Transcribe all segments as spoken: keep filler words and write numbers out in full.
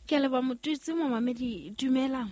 Ke a leboha Motutsi momamedi dumela.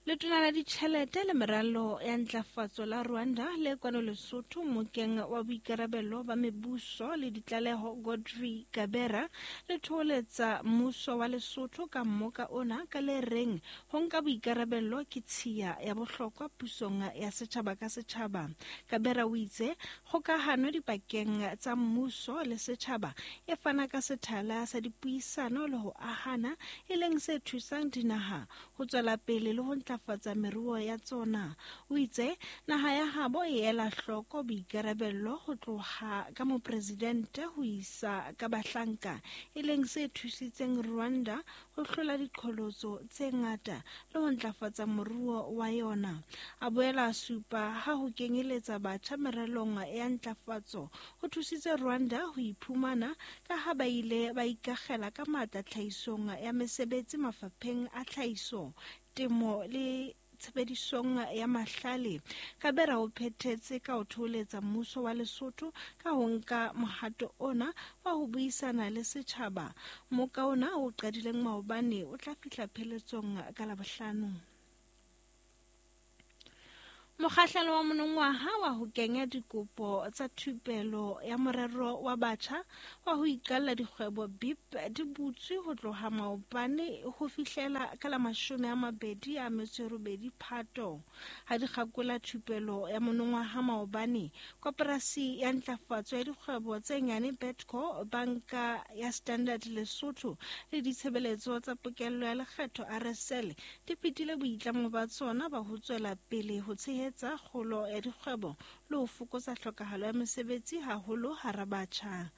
Letona la ditjhelete le meralo ya ntlafatso la Rwanda le kwano Lesotho mokeng wa boikarabelo ba mebuso le ditlaleho Godfrey Kabera le thoholetsa mmuso wa Lesotho ka mmoka ona ka le reng ho nka boikarabelo ke tshiya ya bohlokwa pusong ya setjhaba ka setjhaba. Kabera o itse kgokahano dipakeng tsa mmuso le setjhaba e fana ka sethala sa dipuisano le ho ahana e leng se thusang dinaha ho tswela pele le ho ntlafatsa meruo ya tsona. O itse naha ya habo e ela hloko boikarabello ho tloha ka mopresidente ho isa ka bahlanka e leng se thusitseng Rwanda ho hlola diqholotso tse ngata le ho ntlafatsa moruo wa yona. A boela a supa ha ho kenyeletsa batjha meralong ya ntlafatso ho thusitse Rwanda ho iphumana ka ha ba ile ba ikakgela ka matla tlhahisong ya mesebetsi mafapheng a tlhahiso, temo le tshebedisong ya mahlale. Kabera o phethetse ka ho thoholetsa mmuso wa Lesotho ka ho nka mohato ona wa ho buisana le setjhaba. Moka ona o qadileng maobane o tla fihla pheletsong ka Labohlano. Mokgahlelo wa monongwaha wa ho kenya dikopo tsa thupelo ya morero wa batjha wa ho iqalla dikgwebo B I P di butswe ho tloha maobane ho fihlela ka la mashome a mabedi a metso e robedi Phato. Ha di kgakola thupelo ya monongwaha maobane, koporasi ya ntlafatso ya dikgwebo tse nyane Betco, banka ya Standard Lesotho le ditshebeletso tsa pokello ya lekgetho R S L di phethile boitlamo ba tsona ba ho tswela pele ho tshehetsa kgolo ya dikgwebo le ho fokotsa tlhokahalo ya mesebetsi haholo hara batjha.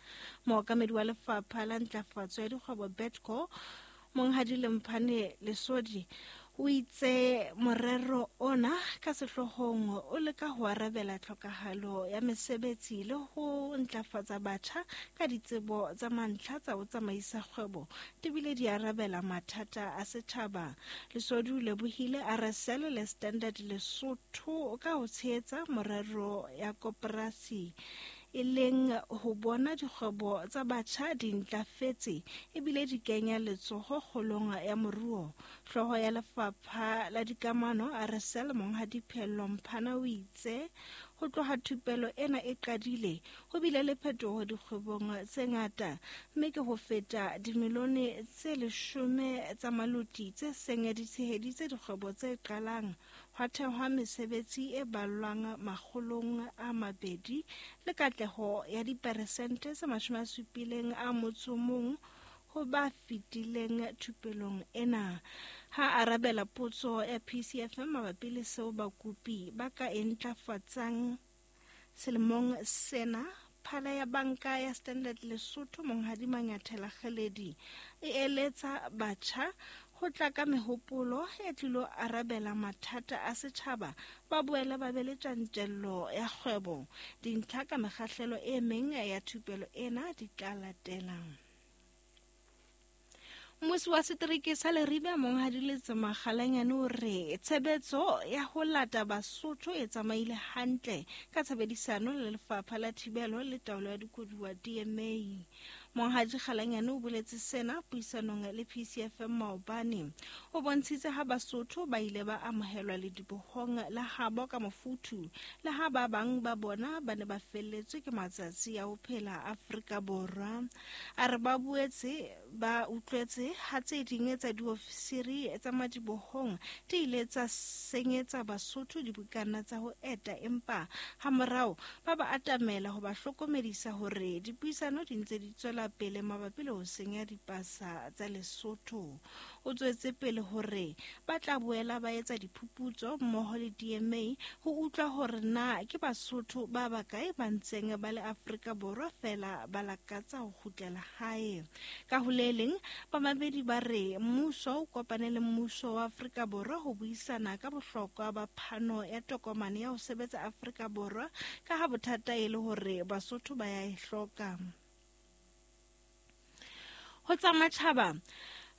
Mookamedi wa lefapha la ntlafatso ya dikgwebo Betco, Monghadi Lemphane Lesodi, o itse morero ona ka sehloohong o leka ho arabela tlhokahalo ya mesebetsi le ho ntlafatsa batjha ka ditsebo tsa mantlha tsa ho tsamaisa kgwebo di bile di arabela mathata a setjhaba. Lesodi o lebohile R S L le Standard Lesotho ka ho tshehetsa morero ya koporasi e leng ho bona dikgwebo tsa batjha di ntlafetse ebile di kenya letsoho kgolong ya moruo. Hlooho ya lefapha la dikamano R S L Monghadi Phello Mphana o itse ho tloha thupelo ena e qadile ho bile le phetoho dikgwebong tse ngata mme ke ho feta dimilione tse leshome tsa maloti tse seng di tsheheditse dikgwebo tse qalang, hwa thehwa mesebetsi e ballwang makgolong a mabedi le katleho ya diperesente tse mashome a supileng a motso mong ho ba fetileng thupelong ena. Ha arabela potso ya P C F M mabapi le seo bakopi ba ka e ntlafatsang selemong sena, phala ya banka ya Standard Lesotho Monghadi Manyathela Kgeledi e eletsa batjha ho tla ka mehopolo e tlilo arabela mathata a setjhaba, ba boele ba be le tjantjello ya kgwebo. Dintlha ka mekgahlelo e meng ya thupelo ena di tla latela. Mmusi wa setereke sa Leribe Monghadi Letsema Kgalanyane o re tshebetso ya ho lata Basotho e tsamaile hantle ka tshebedisano le lefapha la thibelo le taolo ya dikoduwa D M A. Monghadi Kgalanyane o boletse sena puisanong le P C F M maobane. O bontshitse ha Basotho ba ile ba amohelwa ledibohong la habo ka mofuthu le ha ba bang ba bona ba ne ba felletswe ke matsatsi a ho phela Afrika Borwa. A re ba boetse ba utlwetse ha tse ding tsa diofisiri tsa madibohong di ile tsa senyetsa Basotho dibukana tsa ho eta, empa hamorao ba ba atamela ho ba hlokomedisa hore dipuisano di ntse di tswela pele mabapi le ho senya dipasa tsa Lesotho. O tswetse pele hore ba tla boela ba etsa diphuputso mmoho le D M A ho utlwa hore na ke Basotho ba bakae ba ntseng ba le Afrika Borwa fela ba lakatsa ho kgutlela hae. Ka ho le leng, bamamedi ba re mmuso o kopane le mmuso wa Afrika Borwa ho buisana ka bohlokwa ba phano ya tokomane ya ho sebetsa Afrika Borwa ka ha bothata e le hore Basotho ba ya e hloka. Ho tsa matjhaba,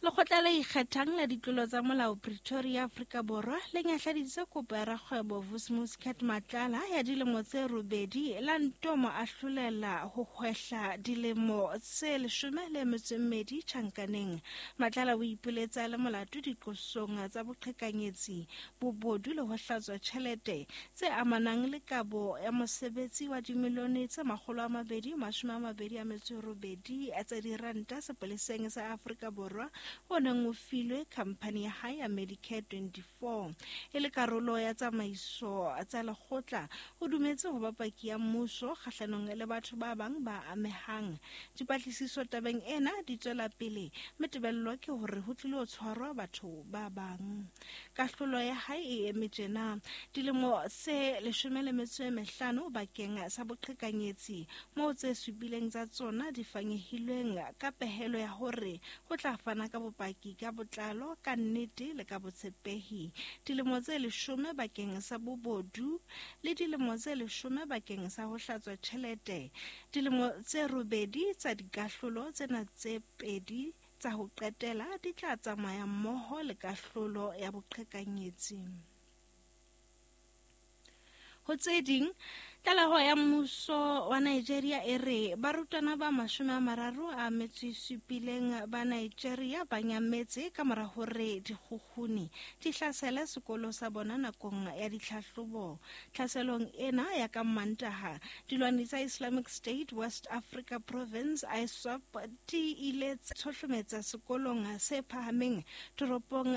Lekgotla le Ikgethang la Ditlolo tsa Molao Pretoria, Afrika Borwa le nyahladitse kopo ya rakgwebo Vusimuzi Cat Matlala ya dilemo tse robedi la nto mo ahlolela ho hwehla dilemo tse leshome le metso e mmedi tjhankaneng. Matlala o ipoletsa a le molato diqosong tsa boqhekanyetsi, bobodu le ho hlatswa tjhelete tse amanang le kabo ya mosebetsi wa dimilione tse makgolo a mabedi mashome a mabedi a metso e robedi tsa diranta sepoleseng sa Afrika Borwa o neng o filwe khamphani ya hae ya Medicare twenty-four. E le karolo ya tsamaiso tsa lekgotla, o dumetse ho ba paki ya mmuso kgahlanong le batho ba bang ba amehang. Dipatlisiso tabeng ena di tswela pele, mme tebello ke hore ho tlilo tshwarwa batho ba bang. Kahlolo ya hae e eme tjena: dilemo tse leshome le metso e mehlano bakeng sa boqhekanyetsi, moo tse supileng tsa tsona di fanyehilweng ka pehelo ya hore ho tla fana ka bopaki ka botlalo, ka nnete le ka botshepehi. Dilemo tse leshome bakeng sa bobodu le dilemo tse leshome bakeng sa ho hlatswa tjhelete. Dilemo tse robedi tsa dikahlolo tsena tse pedi tsa ho qetela di tla tsamaya mmoho le kahlolo ya boqhekanyetsi. Ho tse ding, tlaleho ya mmuso wa Nigeria e re barutwana ba mashome a mararo a metso e supileng ba Nigeria ba nyametse ka mora hore dikgukguni di hlasele sekolo sa bona nakong ya ditlhahlobo. Tlhaselong ena ya ka Mantaha, dilwani tsa Islamic State West Africa Province I S W A P di ile tsa tshohlometsa sekolong se phahameng toropong